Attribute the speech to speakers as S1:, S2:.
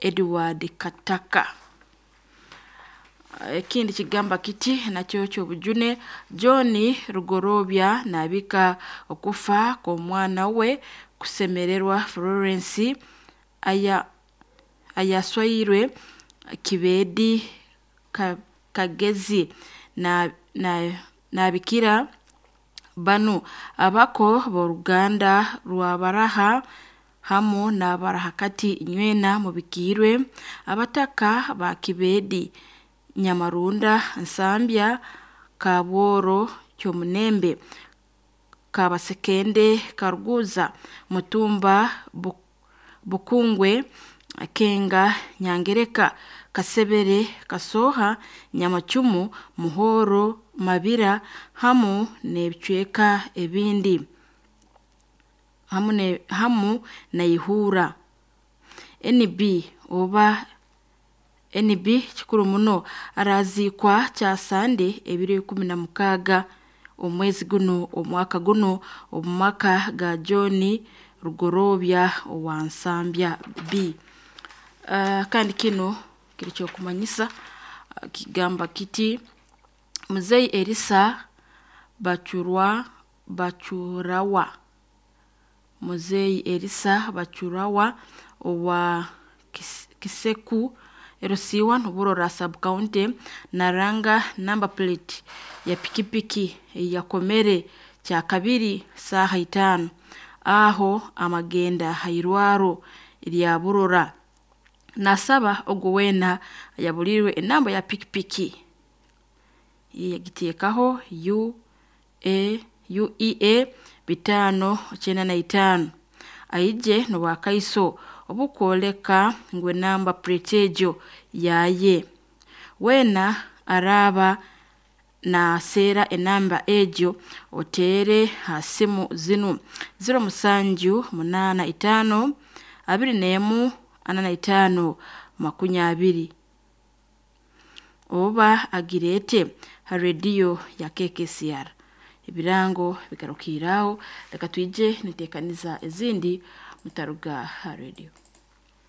S1: Edward Kataka. Ekindi kigamba kiti nakyo ky'obujune, John Rugorobya naabika okufa kw'omwana we Kusemererwa Florence ayaswairwe Kibedi Kagezi naabikira banu abako b'oruganda rwa Baraha hamu n'abarahakati inywena mubikiirwe abataka ba Kibedi, Nyamarunda, Nsambya, Kabworo, Kyomunembe, Kabasekende, Karuguza, Mutumba, Bukungwe, Kenga, Nyangereka, Kasebere, Kasoha, Nyamacumu, Muhoro, Mabira hamu n'ebicweka ebindi hamu na Ihura. NB oba NB kikuru muno araziikwa Kyasande ebiro 16 omwezi gunu omwaka gunu omu maka ga John Rugorobya owa Nsambya B. Kandi kinu kiri ky'okumanyisa kigamba kiti Muzei Erisa Bacurawa, Muzei Erisa Bacurawa owa Kiseku LC1 Burora Sub-county naranga namba plate ya pikipiki eyakomere Kyakabiri saaha 5 aho amagenda hairwaro lya Burora. Nasaba ogu weena ayabuliirwe enamba ya pikipiki yagiteekaho UEA 595 aije n'obwakaiso obukwoleka ngu enamba plate egyo yaye. Weena araaba naaseera enamba egyo oteere ha simu zinu 07 85 21 45 20 oba agireete ha rediyo ya KKCR. Ebirango bigarukiire aho, leka twije niteekaniza ezindi mutaruga ha rediyo.